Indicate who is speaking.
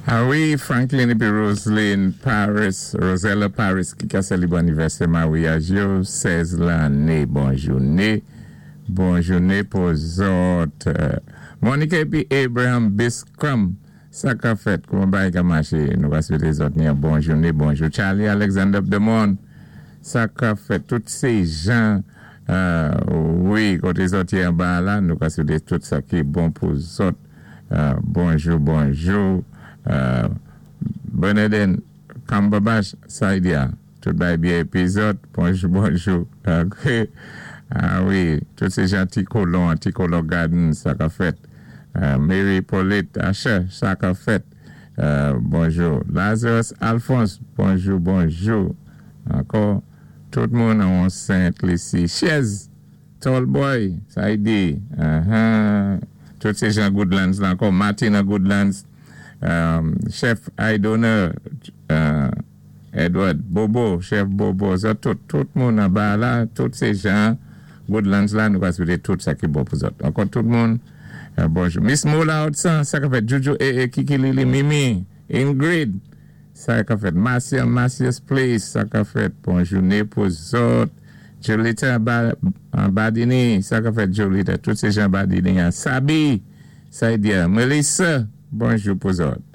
Speaker 1: A wi, Franklin épi Roseline Paris, Rosella Paris ki ka sélibwé annivèsè mawyaj yo, 16 lanné. Bon jouné, bon jouné pou zòt. Monica épi Abraham Biscrum, sa ka fèt? Kouman bagay ka maché? Nou ka swété zòt ni yon bon jouné, bonjou Charlie Alexander Demond, sa ka fèt? Tout sé jan, wi, koté zòt yé anba a la, nou ka swété tout sa ki bon pou zòt. Bonjou bonjou Bernadin Cumberbatch Saidia tout bagay byen epi zòt bonjou bonjou ok a wi tout se jan ti kolon an ti kolon Gardens sa ka fèt Mary Polite Asher sa ka fèt bonjou Lazarus Alphonse bonjou bonjou ankò tout moun an Sent Lisi Chez Tall boy sa y di ahaa tout se jan Goodlands la ankò Martin nan Goodlands chèf Aidoner Edward Bobo chèf Bobo zòt tout tout moun anba a la tout se jan Goodlands la nou ka swete tout sa ki bon pou zòt ankò tout moun bonjou Miss Mola Odsan sa ka fèt Jojo ee Kiki Lili Mimi Ingrid Sa ka fèt Marcia Marcia's place sa ka fèt bon joune pou zòt Jolita Badini sa ka fèt Jolita tout se jan Badini an Sabi Saidia Melissa bonjou pou zòt.